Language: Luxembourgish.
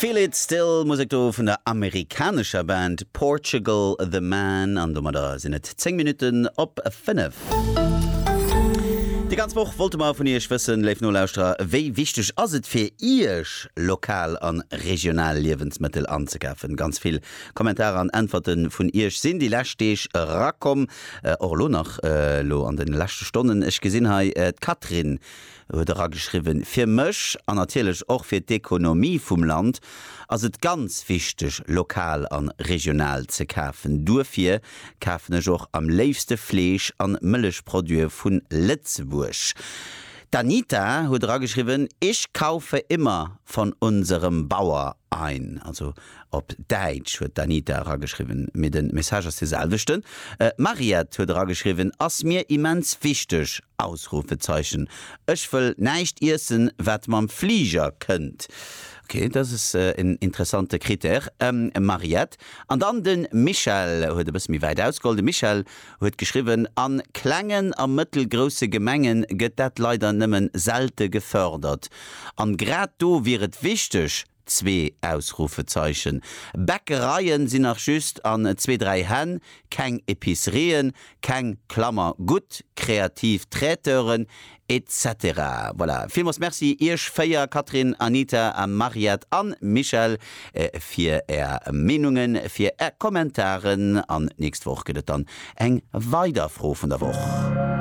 Feel It Still, Musek do vun der amerikanescher Band Portugal The Man an domadder sinn et 10 Minutten op 5. Déi ganz Woch wollte mer vun Iech wëssen, léif Nolauschterer, wéi wichteg ass et fir Iech, lokal an regional Liewensmëttel anzekafen? Ganz vill Kommentarer an Äntwerte vun Iech sinn déi lescht Deeg erakomm, och elo nach, elo an de leschte Stonnen. Ech gesinn hei d'Catherine huet erageschriwwen, Fir mech, an natierlech och fir d'Ekonomie vum Land, ass et ganz wichteg, lokal an regional ze kafen. Duerfir kafen ech och am léifste Fleesch an Mëllechproduite vun Lëtzebuerg. D'Anita huet erageschriwwen, Ich kaufe immer von unserem Bauer ein. Also Op Däitsch huet d'Anita erageschriwwen, mee de Message ass de selwechten. D'Mariette huet erageschriwwen, Ass mir immens wichteg! Ausrufezeichen Ech wëll näischt iessen, wat mam Fliger kënnt. Ok, dat ass en interessante Critère, Mariette. An dann de Michel huet e bësse méi wäit ausgeholl. De Michel huet geschriwwen, A klengen a mëttelgrousse Gemenge gëtt dat leider nëmmen selte gefördert. An grad do wier et wichteg, Zwee Ausrufezeichen. Bäckereien sinn nach just an zwee, dräi Hänn, keng Epicerien, keng, Klammer, gutt, kreativ Traiteuren, etc. Voilà, villmools Merci iech 4, Catherine, Anita, Mariette an Michèle, fir är Meenungen, fir är Kommentaren an d'nächst Woch gëtt et dann eng weider Fro vun der Woch.